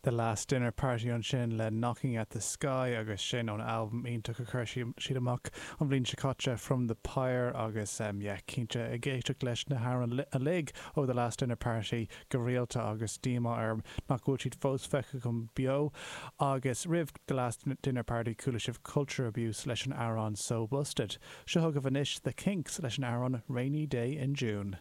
The Last Dinner Party ansin le Knocking at the Sky agus sin ón albam iontach a chuir siad amach an bhliain seo caite, From the Pyre agus yeah cinnte ag éisteacht leis na hamhráin uilig ó The Last Dinner Party go rialta agus díomá orm nach bhfuil siad fós feicthe agam beo. Agus roimh The Last Dinner Party chuala sibh Culture Abuse leis an amhrán So Busted. Seo chugaibh anois The Kinks leis an amhrán Rainy Day in June.